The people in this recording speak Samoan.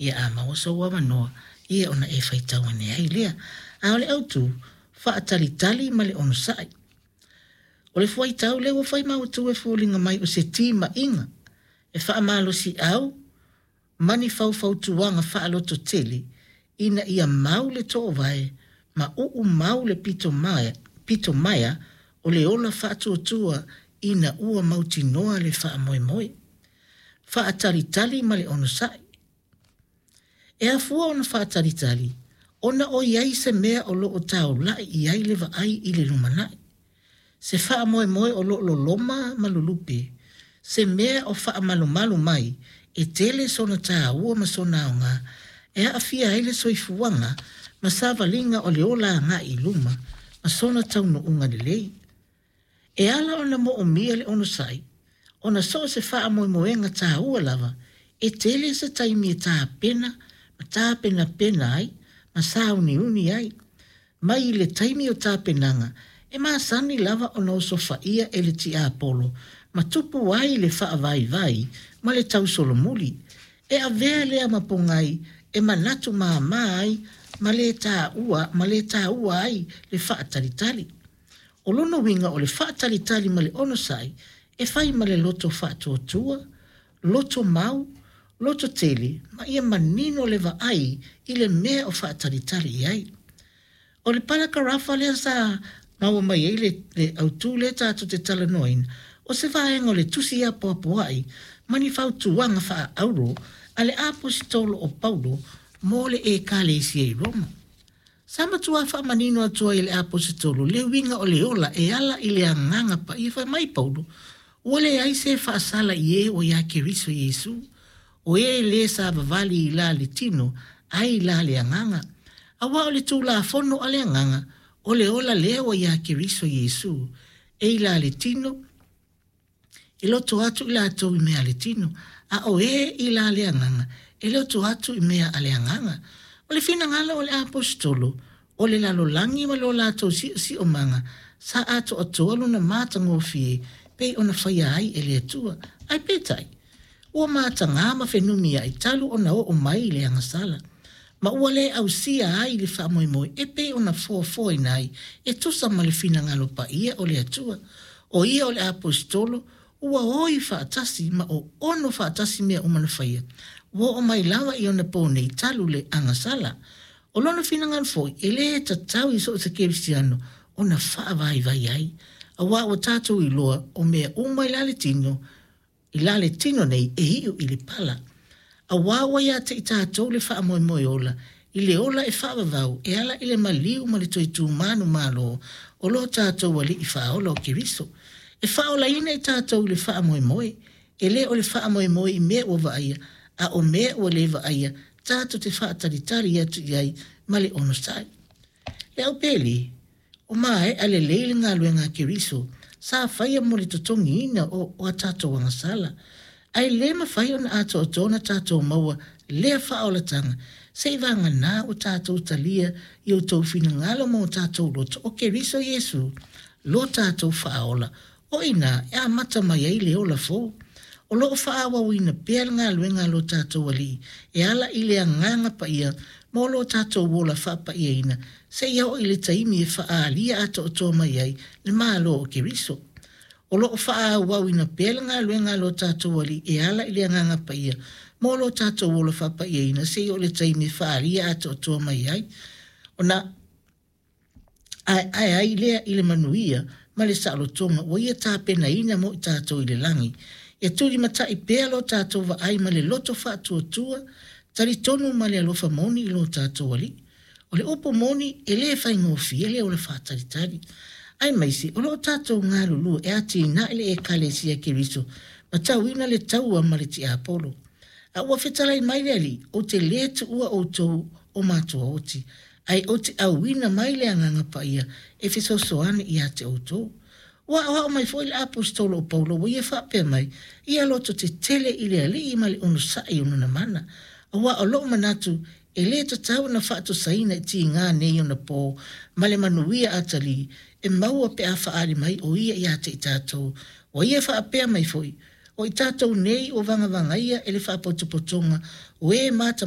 Ia a maua sou avanoa, ia ona e faitau ane ai lea. A o le autu, faatalitali ma le onosai. O le fuaitau lea ua fai ma autu e foliga mai o se timaiga e faamalosiau ma ni faufautuaga faalototele ina ia mau le toovae ma uu mau le pito maea, pito maea o le ola faatuatua ina ua mautinoa le faamoemoe. Faatalitali ma le onosai. E afua ona faatalitali ona o i ai se mea o lo o taula'i i ai le vaai i le lumanai, se faamoemoe o lo o loloma ma lulupe, se mea o faamalumalu mai e tele sona taua ma sona aoga e aafia ai le soifuaga ma savaliga o le ola agai i luma ma sona taunuuga lelei. E ala ona moomia le onosai, ona so o se faamoemoega taua lava, e tele se taimi e tapena ma tapenapena ai ma sauniuni ai. Mai i le taimi o tapenaga, e masani lava ona osofaia e le tiapolo ma tupu ai le faavaivai ma le tausolomuli. E avea lea ma pogai e manatu mama ai ma le taua, ma le taua ai le faatalitali. O lona uiga o le faatalitali ma le onosai e fai ma le loto faatuatua, loto mau, loto tele ma ia manino le vaai i le mea o faatalitali i ai. O le palakarafa lea sa maua mai ai le, le autu lea tatou te talanoaina, o se vaega o le tusi apoapoai ma ni fautuaga faaauro a le Aposetolo o Paulo mo le Ekalesia i Roma. Sa matua faamanino atu ai e le Aposetolo le uiga o le ola e ala i le agaga paia. Fai mai Paulo, ua leai se faasala i e ua iā Keriso Iesu, o e lē savavali i la le tino, ae i la le agaga. Auā o le Tulafono a le Agaga, o le ola lea ua iā Keriso Iesu, e i la le tino, e loto atu i latou i mea a le tino, a o e i la le agaga, e loto atu i mea a le agaga. O le finagalo o le Aposetolo, o le lalolagi ma lo latou siosiomaga, sa atoatoa lona matagofie pei ona faia ai e le Atua. Ae peitai, ua mataga ma fenumiai talu ona oo mai i le agasala, ma ua le ausia ai le faamoemoe e pei ona foafoaina ai e tusa ma le finagalo paia o le Atua. O ia o le Aposetolo, ua oi faatasi ma oono faatasi mea uma na faia, ua oo mai lava i ona po nei talu le agasala. O lona finagalo foi, e le tatau i so o se kerisiano ona faavaivai ai, auā ua tatou iloa o mea uma i la le tino, i la le tino nei e iu i le pala. Auā ua ia te i tatou le faamoemoe ola, i le ola e faavavau e ala i le maliu ma le toe tumanumalo o lo tatou Alii Faaola o Keriso, e faaolaina i tatou i le faamoemoe, e le o le faamoemoe i mea ua vaaia, a o mea ua le vaaia, tatou te faatalitali atu i ai ma le onosai. Le au pele, o maea lelei le galuega a Keriso sa faia mo le totogiina o a tatou agasala. Ae le mafai ona atoatoa ona tatou maua lea faaolataga seivaganā ua tatou talia i outou finagalo ma o tatou loto o Keriso Iesu lo tatou Faaola. O i inā e amata mai ai le ola fou. O lo o faaauauina pea le galuega a lo tatou Alii e ala i le Agaga Paia mo lo tatou ola faapaiaina seia oo i le taimi e faaalia atoatoa mai ai le Malo o Keriso. O lo o faaauauina pea le galuega a lo tatou Alii e ala i le Agaga Paia mo lo tatou ola faapaiaina seia oo i le taimi e faaalia atoatoa mai ai ona aeae ai lea i le manuia ma le saolotoga ua ia tapenaina mo i tatou i le lagi. Ia tulimatai pea lo tatou vaai ma le loto faatuatua, talitonu ma le alofa moni i lo tatou Alii. O le upu moni, e le faigofie le ola faatalitali. Aemaise o lo o tatou galulue e atinae le Ekalesia Keriso ma tauina le taua ma le tiapolo. A ua fetalai mai le Alii, ou te lē tuua outou o matuaoti, ae ou te auina mai le Agaga Paia e fesoasoani ia te outou. Ua aoao mai foi le Aposetolo o Paulo ua ia faapea mai, Ia loto tetele i le Alii ma le onosai o lona mana. Aua o lou manatu, e lē tatau ona faatusaina i tiga nei ona pō ma le manuia atalii e maua pe a faaali mai o ia ia te i tatou. Ua ia faapea mai foi, O i tatou nei ua vagavagaia e le faapotopotoga o e mata